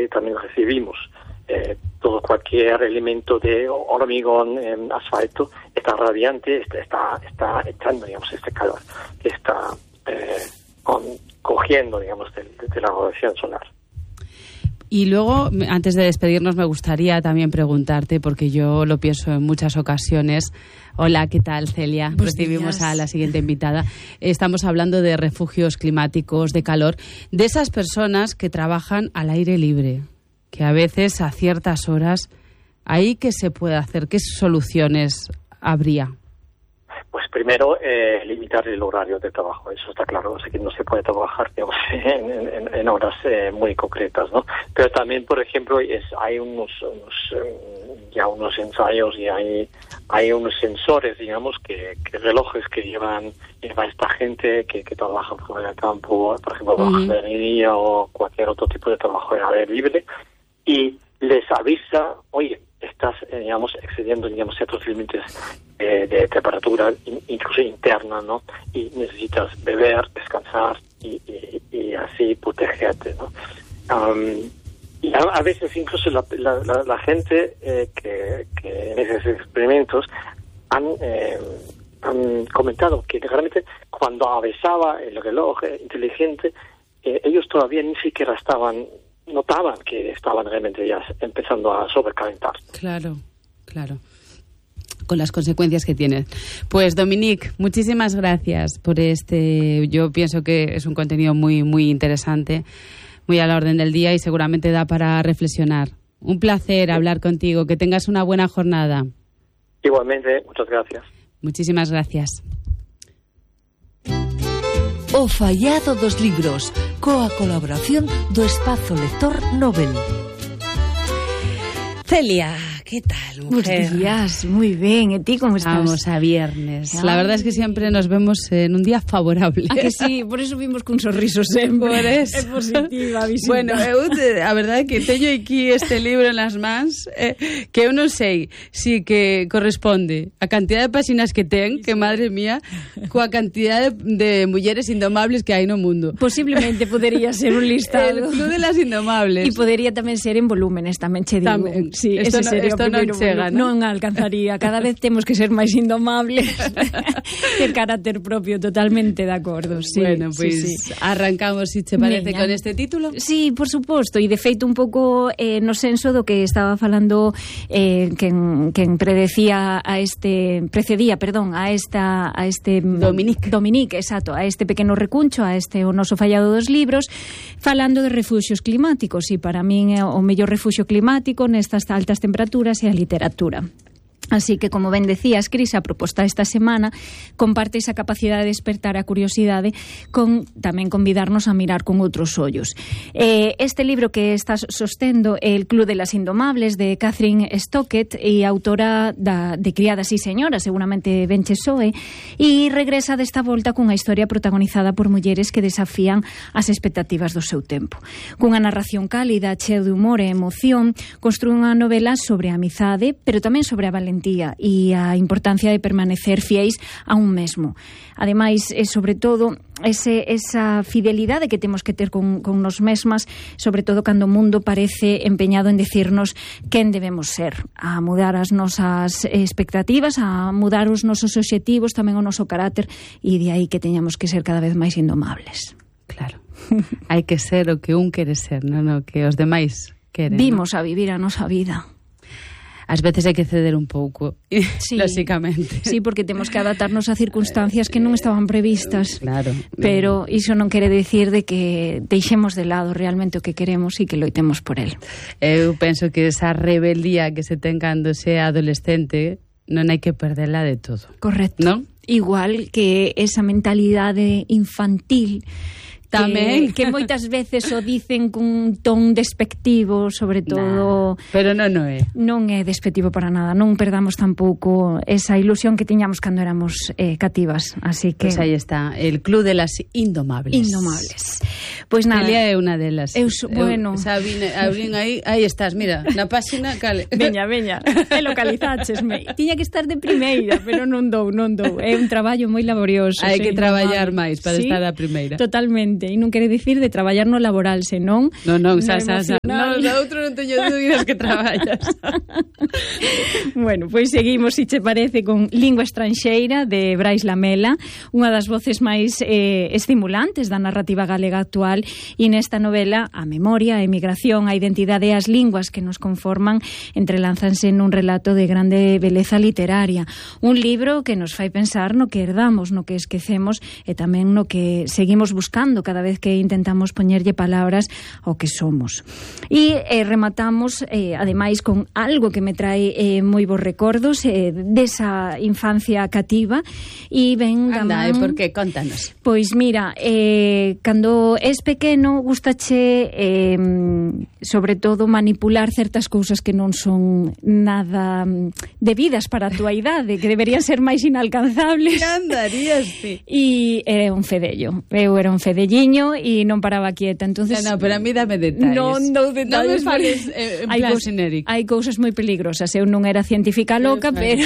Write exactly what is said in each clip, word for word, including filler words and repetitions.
que también recibimos eh, todo cualquier elemento de hormigón, eh, asfalto, está radiante, está, está, está echando, digamos, este calor que está eh, con, cogiendo, digamos, de, de la radiación solar. Y luego, antes de despedirnos, me gustaría también preguntarte, porque yo lo pienso en muchas ocasiones. Hola, ¿qué tal, Celia? Buenos Recibimos días. a la siguiente invitada. Estamos hablando de refugios climáticos, de calor, de esas personas que trabajan al aire libre, que a veces a ciertas horas, ¿ahí qué se puede hacer? ¿Qué soluciones habría? Pues primero, eh, limitar el horario de trabajo, eso está claro, o sea que no se puede trabajar, digamos, en, en, en horas eh, muy concretas, ¿no? Pero también, por ejemplo, es, hay unos, unos eh, ya unos ensayos y hay hay unos sensores, digamos, que, que relojes que llevan lleva esta gente que, que trabaja fuera del campo, por ejemplo, Uh-huh. bajo jardinería o cualquier otro tipo de trabajo en aire libre, y les avisa, oye, estás, eh, digamos, excediendo, digamos, ciertos límites eh, de temperatura, in, incluso interna, ¿no? Y necesitas beber, descansar y, y, y así protegerte, ¿no? Um, y a, a veces incluso la, la, la, la gente eh, que, que en esos experimentos han, eh, han comentado que realmente cuando avisaba el reloj eh, inteligente, eh, ellos todavía ni siquiera estaban notaban que estaban realmente ya empezando a sobrecalentar. Claro, claro. Con las consecuencias que tiene. Pues, Dominique, muchísimas gracias por este... Yo pienso que es un contenido muy, muy interesante, muy a la orden del día y seguramente da para reflexionar. Un placer hablar contigo. Que tengas una buena jornada. Igualmente, muchas gracias. Muchísimas gracias. O Fallado dos Libros, coa colaboración do Espazo Lector Nobel. Celia, ¿qué tal, mujer? Buenos días, muy bien. ¿Y ti cómo estás? Vamos a viernes. Ay. La verdad es que siempre nos vemos en un día favorable. A que sí, por eso vimos cun sorriso sempre. Por eso. É positiva a visita. Bueno, eu, a verdade é que teño aquí este libro nas mans eh, que eu non sei si que corresponde a cantidad de páxinas que ten, que madre mía, coa cantidad de, de mulleres indomables que hai no mundo. Posiblemente podería ser un listado. El Club de las Indomables. E podería tamén ser en volúmenes, tamén che digo. Tamén. Sí, Esto ese no- sería esto o non primeiro chega, volumen. ¿no? Non alcanzaría. Cada vez temos que ser máis indomables. Ter carácter propio, totalmente de acordo. Sí, Bueno, pois sí, sí. arrancamos, si che parece, Veña. con este título. Sí, por suposto, e de feito un pouco eh, no senso do que estaba falando eh, quen, quen predecía a este precedía, perdón, a esta a este Dominique. Dominique, exacto, a este pequeno recuncho, a este o noso Fallado dos Libros, falando de refuxios climáticos, e para min é o mellor refuxio climático nestas altas temperaturas é a literatura. Así que, como ben decías, Cris, a proposta esta semana comparte esa capacidade de despertar a curiosidade con tamén convidarnos a mirar con outros ollos. Eh, este libro que estás sostendo é El Club de las Indomables, de Catherine Stockett, e autora da, de Criadas e Señoras, seguramente ben che soe, e regresa desta volta cunha historia protagonizada por mulleres que desafían as expectativas do seu tempo. Cunha narración cálida, cheo de humor e emoción, construe unha novela sobre a amizade, pero tamén sobre a valentía e a importancia de permanecer fiéis a un mesmo. Ademais, e sobre todo, ese, esa fidelidade que temos que ter con, con nos mesmas, sobre todo cando o mundo parece empeñado en decirnos quen debemos ser, a mudar as nosas expectativas, a mudar os nosos obxectivos, tamén o noso carácter, e de aí que teñamos que ser cada vez máis indomables. Claro. Hai que ser o que un quere ser, non o que os demais queren. Vimos a vivir a nosa vida. Ás veces hai que ceder un pouco, Sí. lóxicamente. Sí, porque temos que adaptarnos a circunstancias que non estaban previstas. Claro. Pero iso non quere decir de que deixemos de lado realmente o que queremos e que loitemos por el. Eu penso que esa rebeldía que se ten cando se é adolescente non hai que perderla de todo. Correcto. Non? Igual que esa mentalidade infantil Tamén. que, que moitas veces o dicen cun ton despectivo, sobre todo. Nah, pero non, non é. Non é despectivo para nada. Non perdamos tampouco esa ilusión que tiñamos cando éramos eh, cativas. Así que... Pois pues aí está, el Club de las Indomables. Indomables. Pois nada. Celia é unha delas. Eu so- bueno. Eu, Sabine, abrín aí, aí estás, mira, na páxina, cale. Veña, veña, e localizáchesme. Tiña que estar de primeira, pero non dou, non dou. É un traballo moi laborioso. Hai ser que traballar indomable. máis para Sí, estar a primeira. Totalmente. Exactamente, e non quere dicir de traballar no laboral, senón non, non, no xa, xa, xa. emocional. No, no outro non teño dúbidas que traballas. Bueno, pois seguimos, se che parece, con Lingua estranxeira de Brais Lamela, unha das voces máis eh, estimulantes da narrativa galega actual, e nesta novela a memoria, a emigración, a identidade e as linguas que nos conforman entrelázanse nun relato de grande beleza literaria. Un libro que nos fai pensar no que herdamos, no que esquecemos e tamén no que seguimos buscando cada vez que intentamos poñerlle palabras ao que somos. E eh, rematamos, eh, ademais, con algo que me trae eh, moi bons recordos eh, desa infancia cativa e ven da Anda, man... e por que? Contanos. Pois mira, eh, cando és pequeno gustache eh, sobre todo manipular certas cousas que non son nada debidas para a túa idade, que deberían ser máis inalcanzables. Que andarías, ti? E era un fedello. Eu era un fedelliño e non paraba quieta. Entonces, no, no, pero a mí dame detalles. Non dou detalles. Non me fales eh, en hai plan cos, xenérico. Hai cousas moi peligrosas. Eu non era científica loca, pero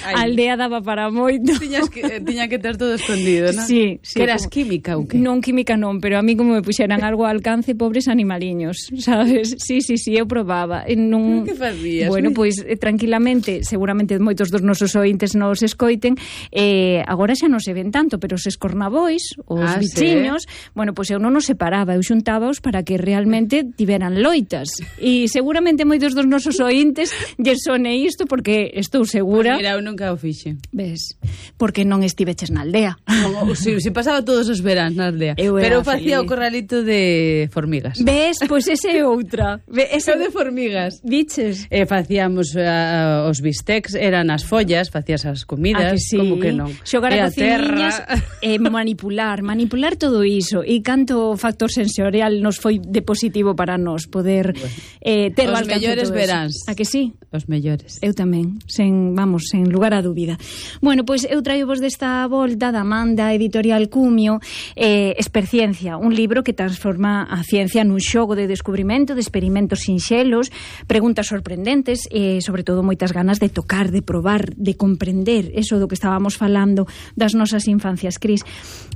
a aldea daba para moito. Tiñas que, eh, tiña que ter todo escondido, non? Sí, sí. Que eras como, química ou que? Non química non, pero a mí como me puxeran algo ao alcance, pobres animaliños, sabes? Sí, sí, sí, eu probaba. E non... Que facías? Bueno, pois eh, tranquilamente, seguramente moitos dos nosos ointes nos escoiten, eh, agora xa non se ven tanto, pero os escornabois, os Ah, bichiños, sí? bueno, pois eu non os separaba, eu xuntábaos para que realmente tiveran loitas. E seguramente moitos dos nosos ointes lle sone isto porque estou segura. Pues mira, eu nunca o fixe. Ves, porque non estiveches na aldea. No, si, si pasaba todos os veráns na aldea. Eu era Pero facía feliz. o corralito de formigas. Ves, pois ese é outra. Ve, ese Ese de formigas. Diches? E facíamos uh, os bistecs, eran as follas, facías as comidas, Ah, que sí. como que non. Xogar E a a terra. cociñas e manipular, manipular todo iso. E canto factor sensorial nos foi de positivo para nós poder eh, ter Os ao alcance mellores todo eso. veráns. A que sí? Os mellores. Eu tamén, sen, vamos, sen lugar a dúbida. Bueno, pois eu traio vos desta volta da man da editorial Cumio, eh, Esperciencia, un libro que transforma a ciencia nun xogo de descubrimento, de experimentos sinxelos, preguntas sorprendentes e, sobre todo, moitas ganas de tocar, de probar, de comprender eso do que estábamos falando das nosas infancias, Cris.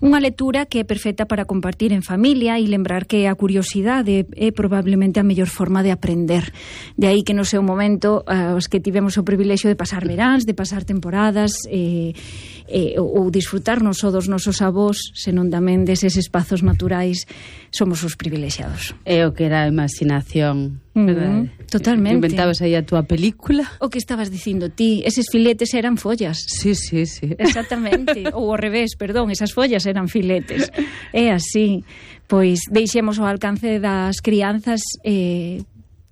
Unha lectura que é perfecta para compartir en familia e lembrar que a curiosidade é probablemente a mellor forma de aprender. De aí que no seu momento uh, os que tivemos o privilexio de pasar veráns, de pasar temporadas eh, eh, ou disfrutarnos só dos nosos avós, senón tamén deses espazos naturais, somos os privilexiados. É o que era a imaginación, verdade? Mm, totalmente. Inventabas aí a túa película. O que estabas dicindo ti, eses filetes eran follas. Sí, sí, sí. Exactamente, ou ao revés, perdón, esas follas eran filetes. É así, pois deixemos ao alcance das crianzas eh,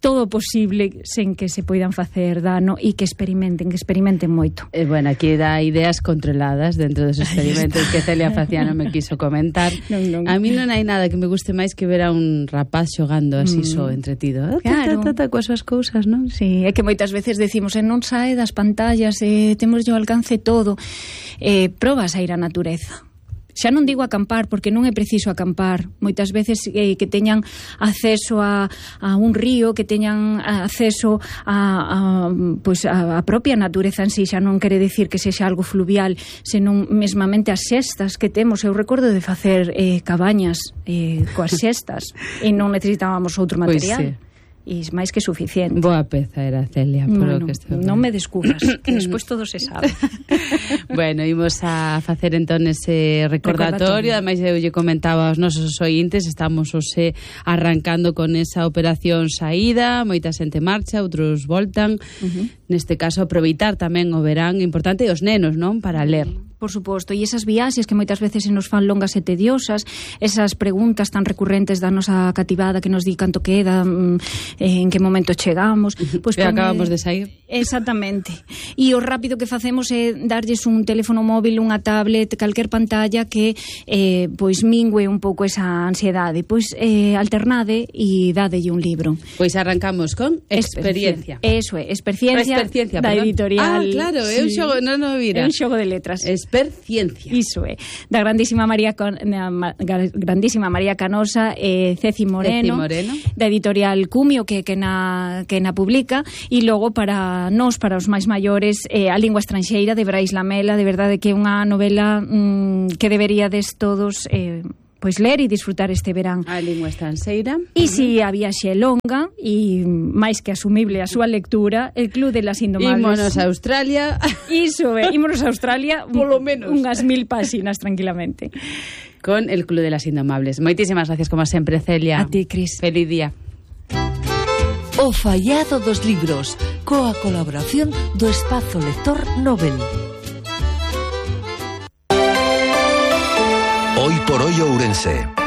todo o posible sen que se poidan facer dano e que experimenten, que experimenten moito. Eh, bueno, aquí dá ideas controladas dentro dos experimentos que Celia Faciano me quiso comentar. Non, non. A mí non hai nada que me guste máis que ver a un rapaz xogando así mm. só entretido. Claro. Ta, ta, ta, coas súas cousas, non? Sí, é que moitas veces decimos e non sae das pantallas, e temos ao alcance todo. Eh, probas a ir á natureza. Xa non digo acampar, porque non é preciso acampar. Moitas veces eh, que teñan acceso a, a un río, que teñan acceso a, a, pues a, a propia natureza en sí, xa non quere decir que sexa algo fluvial, senón mesmamente as xestas que temos. Eu recordo de facer eh, cabañas eh, coas xestas e non necesitábamos outro material. Pois sí. E máis que suficiente. Boa peza era Celia, por bueno, o que estou non me descubras, que despois todo se sabe. Bueno, imos a facer entón ese recordatorio. Recordatorio. Ademais, eu lle comentaba aos nosos ointes, estamos hoxe arrancando con esa operación saída, moita xente marcha, outros voltan. Uh-huh. Neste caso, aproveitar tamén o verán importante e os nenos, non? Para ler. Por suposto, e esas viaxes que moitas veces se nos fan longas e tediosas, esas preguntas tan recurrentes da nosa cativada que nos di canto queda, en que momento chegamos, pois pues acabamos de sair. Exactamente. E o rápido que facemos é darlles un teléfono móvil, unha tablet, calquer pantalla que eh, pois mingue un pouco esa ansiedade. Pois eh, alternade e dadelle un libro. Pois arrancamos con Experiencia. Eso é, Experiencia, Experiencia da perdón. editorial. Ah, claro, é un xogo, non o vira. É un xogo de letras. Experiencia. Iso é. Da grandísima María Con, na, grandísima María Canosa e Ceci Moreno, Ceci Moreno, da editorial Cumio que que na que na publica, e logo para nós, para os máis maiores, eh, A lingua estranxeira de Brais Lamela, de verdade que é unha novela mm, que deberíades todos eh, pois ler e disfrutar este verán. A lingua estranxeira. E se a viaxe é longa e máis que asumible a súa lectura, el Club de las Indomables. Ímonos a Australia. Iso, é, ímonos a Australia polo menos unhas mil páxinas tranquilamente. Con el Club de las Indomables. Moitísimas gracias como sempre, Celia. A ti, Cris. Feliz día. O fallado dos libros, coa colaboración do Espazo Lector Nobel. Hoy por hoy Ourense.